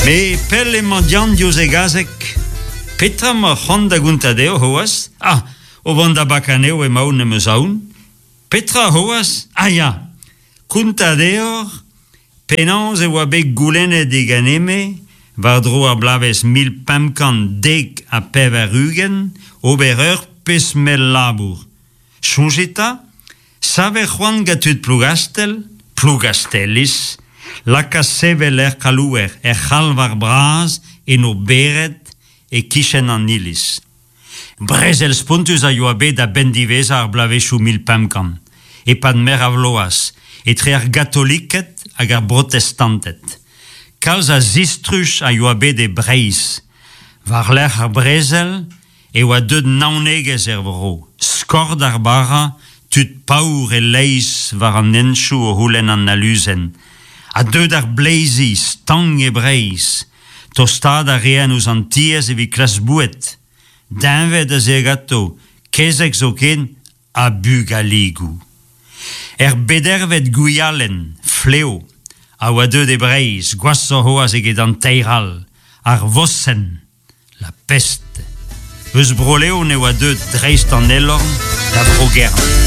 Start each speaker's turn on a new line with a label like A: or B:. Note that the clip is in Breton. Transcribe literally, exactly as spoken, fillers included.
A: Me pell emañ Dian diouzh e gazeg. Petra 'ma c'hoant da gontañ dezho c'hoazh? Ah, o vont da bakañ anezho emaon em eus aon. Petra c'hoazh? Ah ya, kontañ deoc'h penaos e oa bet goulennet diganeme war-dro ar bloavezh mil pemp kant dek ha pevar-ugent ober ur pezh mell labour. Soñjit 'ta, savet c'hoant gant tud Plougastell, Plougastelliz, lakaat sevel er c'halouer, er c'halvar bras, en o bered, e-kichen an iliz. Brezel spontus a yoa bet a-benn diwezhañ ar bloavezhioù mil pemp kant, e-pad meur a vloaz, etre ar gatoliked hag ar brotestanted. Kalz a zistruj a yoa bet e Breizh. War-lerc'h ar brezel e oa deuet naonegezh er vro. Skort ar bara, tud paour e-leizh war an henchoù o c'houlenn an aluzen. Ha deuet ar bleizi stank e Breizh. Tostaat a reent ouzh an tiez evit klask boued. Deñved a zee ganto, kezeg zoken, ha bugaligoù. Er bedervet gwialenn, fleo, a oa deuet e Breizh, gwashoc'h c'hoazh eget an teir all, ar vosenn, la peste. Eus Bro-Leon e oa deuet dreist an Elorn da Vro-Gerne.